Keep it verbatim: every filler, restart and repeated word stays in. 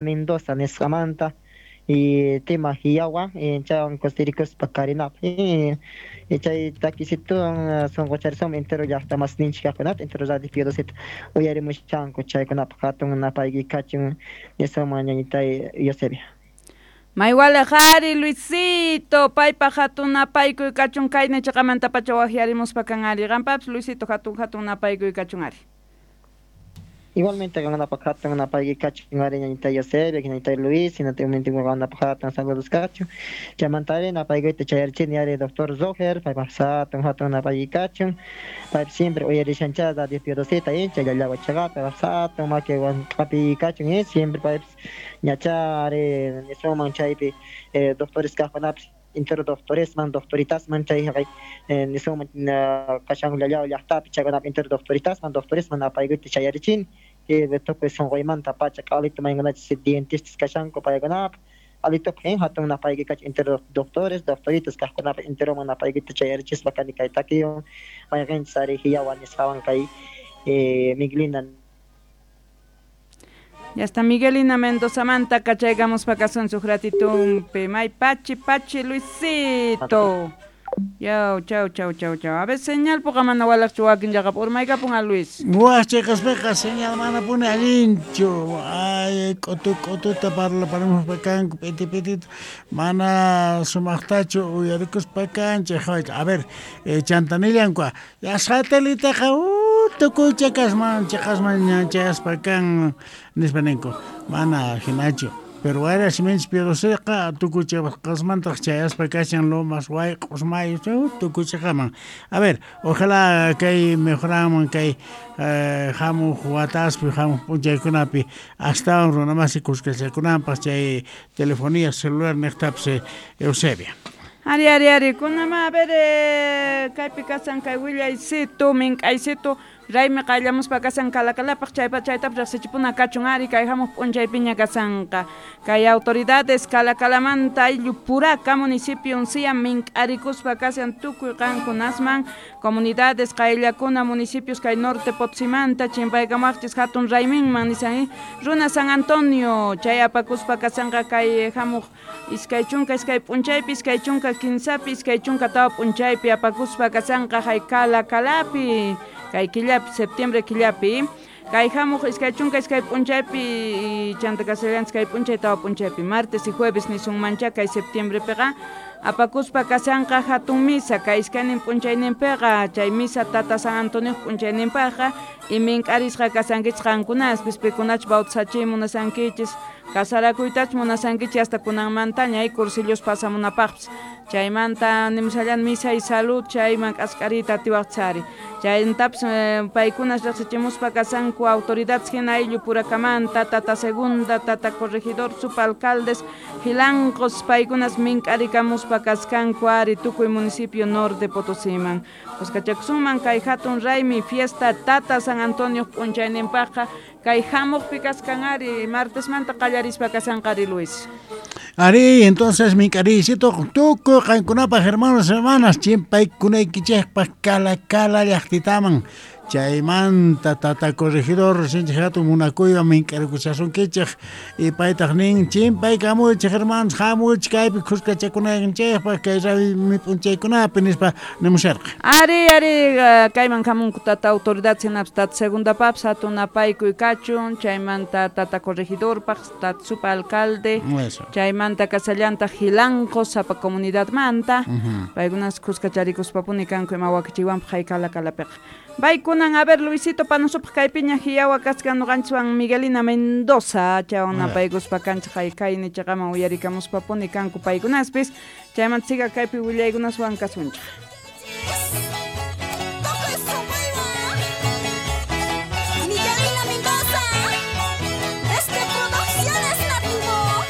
Mendoza nisqamanta y tema hiyawa chaywan kusirikuspa karinapaq y chay takisituwan sunquchariswan entero llaqta masninchik kaqkunata entero Radio Piodosita uyarimushanku chaykunapaq hatun napayki kachun nisqaman ñañitay Eusebia. Maywalej ari Luisito, paypaq hatun napaykuy kachun kayna chiqamanta pacha waqyarimuspa kan ari qampapis Luisito hatun hatun napaykuy kachun ari. Igualmente qankunapaq hatun napayki kachun ari ñañitay Eusebia, ñañitay Luis, hinataymente qankunapaq hatun saludos kachun. Chaymanta ari napaykuyta chayarichini ari doctor Roger, paypaq hatun hatun napayki kachun. Paypi siempre uyarishancha Radio Piodosita chay llallawa chaqapi paypaq hatun makiwan q'api kachun eh, siempre paypis ñacha ari nisunman chaypi eh, doctores kaqkunapis entero doctoresman, doctoritasman chay haqay nisunman kashan llallawa llaqtapi chaykunapi entero doctoritasman, doctoresman napaykuyta chayarichini. Tukuy sunquymanta pacha q'alito maykunachis dentistas kashanku paykunapaq q'alitupi hatun napayki kachun entero doctores, doctoritas kaqkunapaq enteroman napaykita chayarichispa kani kay takiwan mayqinchis ari hiyawa nisqawan kay Miguelina. Ya está Miguelina Mendoza manta kachaykamuspa kasun suj ratitumpi may pachi pachi Luisito. Chau, chau, chau, chau, chau. A ver, señal poca mana walaqchu wakin llaqap urmaykapun a Luis. Waj chayqaspiqa señal mana puni allinchu. Ay, k'utu k'ututa parlaparimuspa kanku p'iti p'itita mana sumaqtachu uyarikuspa kanchik. A ver, eh, chantanillanku ya sateliteqa uh, tukuy chakasman chaqasman chayaspa kan nispa ninku. Mana hinachu. Pero wayra siminchis Piodosiqa tukuy chaqasmantaq chayaspa kashan Lomas, Wayq'os, Mayus, tukuy chaqaman. A ver, ojalá kay mejoranman kay eh, hamuq wataspi, hamuq p'unchaykunapi astawan runamasi kuskachakunanpaq chay telefonía celular niqtapis Eusebia. Ari, ari, ari, kunama, a ver, eh, kaypi kasan kay willaysitu, mink'aysitu, raymi qayllamuspa kasan kalakalapaq chaypa chaytapas riqsichipuna kachun ari kay hamuq p'unchaypiña kasanqa. Kay autoridades kalakalamanta ayllu puraka municipio uncia mink'arikuspa kasan tukuy qankunasman comunidades qayllakuna municipios kay norte Potosímanta chimpaykamaqchis hatun rayminman nisan runa San Antonio chay apakuspa kasanqa kay hamuq iskay chunka iskay p'unchaypi iskay chunka kinsapi iskay chunka tawa p'unchaypi apakuspa kasanqa hay kalakalapi kay killapi septiembre killapi kay hamuq iskay chunka iskay p'unchaypi chanta kasallanchis kay p'unchay tawa p'unchaypi martes y jueves nisunmancha kay septiembrepiqa apakuspa kasanqa hatun misa kay iskaynin p'unchayninpiqa chay misa tata San Antonio p'unchayninpaqqa y mink'arisqa kasankichis qankunaspis pikunachus bautizachiy munasankichis kasarakuytachus munasankichis hasta kunanmantaña hay cursillos pasamunapaqpis chaymanta nimushallan misa y salud chayman k'ask'ariyta atiwaqchis ari chayntapis eh, paykunas riqsichimuspa kasanku autoridades hina ayllu purakamanta tata segunda tata corregidor subalcaldes jilanqos paykunas mink'arikamuspa kaskanku ari tukuy municipio norte Potosíman kuskachakusunman kay hatun raymi fiesta tata San Antonio p'unchayninpaqqa kay hamuqpi kaskan ari martesmanta qallarispa kasanqa ari Luis. Ari, entonces mink'ariysitu tukuy qankunapaq hermanos hermanas chimpaykunaykichikpaq kalakala llaqtitaman chaymanta tata corregidor sinchik hatun munakuywan mink'arikuchasunkichik y paytaq nin chimpaykamuychik hermanos hamuychik kaypi kuskachakunaykichikpaq kay raymi p'unchaykunapi nispa nimusharqa. Ari, ari, kayman hamunku tata autoridad hinapis tata segundapapis hatun napaykuy kachun chaymanta tata corregidorpaq tata supa alcalde chaymanta kasallantaq jilanqos sapa comunidadmanta uh-huh. Paykunas kuskacharikuspapuni kanku ima wakichiywanpaq hay kalakalapiqa. Baykunan, a ver, Luisito, panosupaq kaypiña hiyawa kaskan noqanchiswan Miguelina Mendoza, chaywan napaykuspa kanchik hay kayni chaqaman uyarikamuspapuni kanku paykunaspis, chaymanta siga kaypi willaykunaswan kasunchik.